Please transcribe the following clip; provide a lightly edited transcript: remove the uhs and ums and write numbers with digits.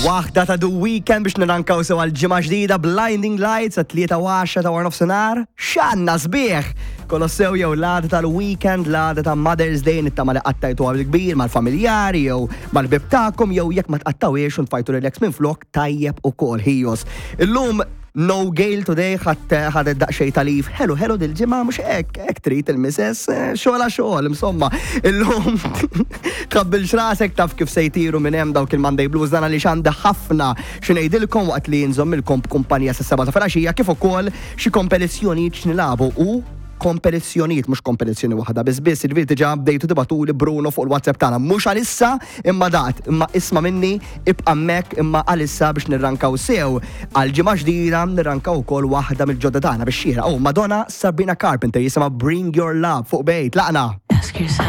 Waħda ta' The Weeknd biex nirankaw sew għal ġimgħa ġdida Blinding Lights għat 3:10 ta' wara nofsinhar. X'għandna sbieħ! Kolossew jew l-għada tal-weekend, l-għada ta' Mother's Day nittama li qattajtu għal kbir mal-familjari jew mal-ħbieb tagħkom jew jekk ma tqattawiex u ntfajtu relax minflok tajjeb ukoll ħijos. Illum No Gale today ħadd ħadet daqsxejn ta' leave. Ħelu ħelu dil-ġimgħa mhux hekk, hekk trid il-misess, eh, xogħol xogħol, insomma. Illum tqabbilx rasek taf kif se jtiru minn hemm dawk il-Monday Blues dan għaliex għandi ħafna xi ngħidilkom waqt li nżommilkom b'kumpanija sas-7 ta' filgħaxija kif ukoll xi kompetizzjonijiet x'nilagħbu u kompetizzjonijiet, mhux kompetizzjoni waħda biss biss, jiġifieri diġà bdejtu tibgħatuli Bruno fuq il-WhatsApp tagħna. Mhux għalissa imma dat, imma isma' minni ibqa' hemmhekk imma għalissa biex nirrankaw sew għal ġimgħa ġdida nirrankaw ukoll waħda mill-ġodda tagħna bix-xieraq. Oh, Madonna Sabrina Carpenter jisimha Bring Your Love fuq bejt. Laqna! Ask yourself.